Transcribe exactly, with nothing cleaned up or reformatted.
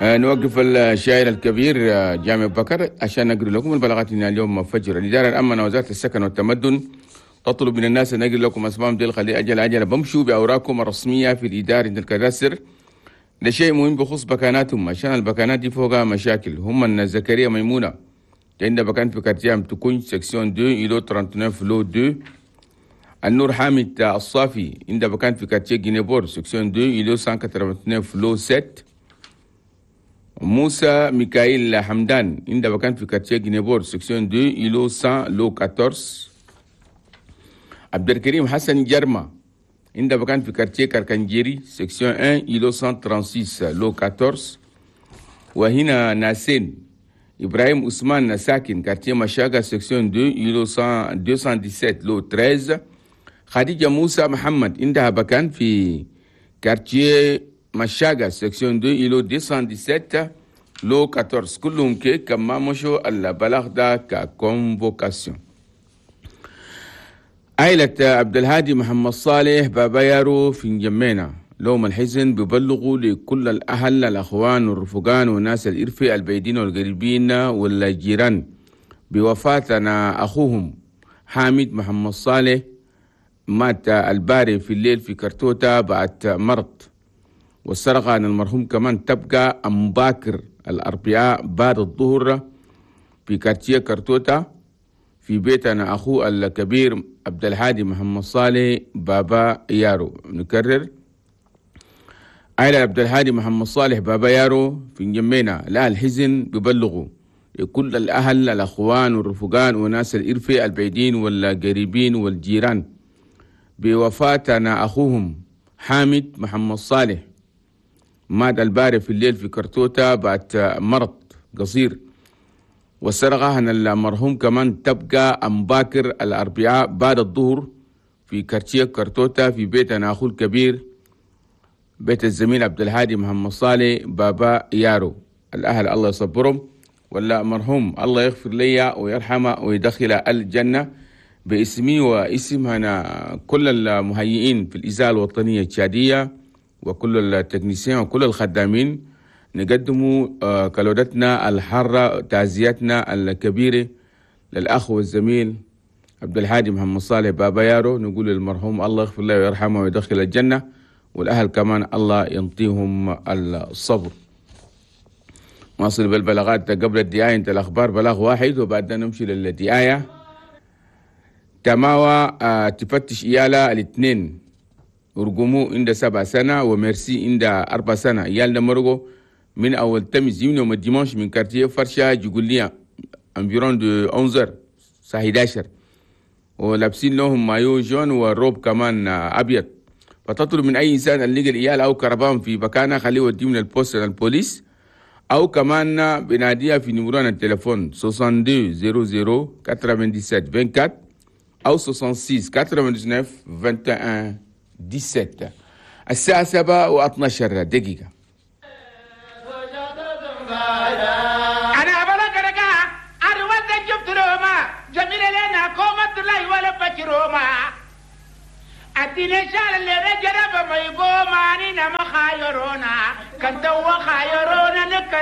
آه، نوقف الشاعر الكبير آه، جامع بكر عشان نقرأ لكم البلاغات من اليوم فجر. الإدارة الأمنة وزارة السكن والتمدن تطلب من الناس أن نقرأ لكم أسمائهم ديل، خلي أجل أجل بمشوا بأوراقكم الرسمية في الإدارة عند ال cadastre. ده شيء مهم بخصوص بكاناتهم، عشان البكانات دي فوقها مشاكل. هم الناس زكريا ميمونة عندها بكان في quartier تكون section اتنين îlot تسعة وثلاثين lot اتنين. النور حامد الصافي عنده بكان في quartier Guinée-Port، section اتنين îlot مية وتسعة وثمانين lot سبعة. موسى ميكائيل حمدان عنده بكان في quartier Guinée-Port، section اتنين îlot مية lot أربعتاشر. عبد الكريم حسن جرمة عنده بكان في quartier كركنجيري، section واحد îlot مية وستة وثلاثين lot أربعتاشر. وهنا ناسين إبراهيم عثمان ساكن quartier مشاقة، section اتنين îlot ميتين وسبعتاشر lot تلتاشر. خديجة موسى محمد عندها بكان في quartier مشاقة، section اتنين îlot ميتين وسبعتاشر lot أربعتاشر. كلهم كي كما مشوا البلاغ ده ك convocation. عائلة عبد الهادي محمد صالح بابا يارو في نجمينا لهم الحزن، بيبلغوا لكل الأهل، الأخوان والرفقان والناس الإرفي البعيدين والقريبين والجيران بوفاتنا أخوهم حامد محمد صالح، مات البارح في الليل في كرتوتا بعد مرض. والسرقة عن المرحوم كمان تبقى أمباكر الأربعاء بعد الظهر في quartier كرتوتا في بيتنا أخوه الكبير عبد الهادي محمد صالح بابا يارو. نكرر، عائلة عبد الهادي محمد صالح بابا يارو في نجمينا لا الحزن ببلغوا لكل الأهل، الأخوان والرفقان وناس الإرفي البعيدين والقريبين والجيران بوفاتنا أخوهم حامد محمد صالح، مات البارح في الليل في كرتوتا بعد مرض قصير. والسرقة هنا المرحوم كمان تبقى أمباكر الأربعاء بعد الظهر في quartier كرتوتا في بيتنا أخوه الكبير، بيت الزميل عبد الهادي محمد صالح بابا يارو. الأهل الله يصبرهم، ولا مرحوم الله يغفر لي ويرحمه ويدخل الجنة. باسمي واسم هنا كل المهيئين في الإذاعة الوطنية التشادية وكل ال techniciens وكل الخدامين، نقدم آه، كلودتنا الحارة، تعزيتنا الكبيرة للأخ والزميل عبد الهادي محمد صالح بابا يارو. نقول للمرحوم الله يغفر له ويرحمه ويدخل الجنة، والأهل كمان الله ينطيهم الصبر. نواصل بالبلاغات قبل الدعاية انت الأخبار، بلاغ واحد وبعدين نمشي للدعاية. تماوى آه، تفتش إيالة الاثنين، ورقمو عند سبع سنة وميرسي عند أربع سنة. عيال مرقو من أول تمس يوم ال dimanche من quartier فرشا جقوليا environ de onze الساعة حداشر، ولابسين لهم maillot jaune و robe كمان أبيض. فتطلب من أي إنسان اللي لقى العيال أو كربان في مكانه خليه يوديهم لل poste البوليس، أو كمان بناديها في numéro التليفون اتنين وستين صفر صفر سبعة وثمانين أربعة وعشرين أو ستة وستين تسعة وتسعين واحد وعشرين سبعتاشر. الساعة سبعة واثنا عشر دقيقة. أنا بلغ أروت جبت روما جميل لنا قومة الله ولا بكروما أديني شال اللي رجل ما يقوم أنا ما خيرونا كنت وخيرونا.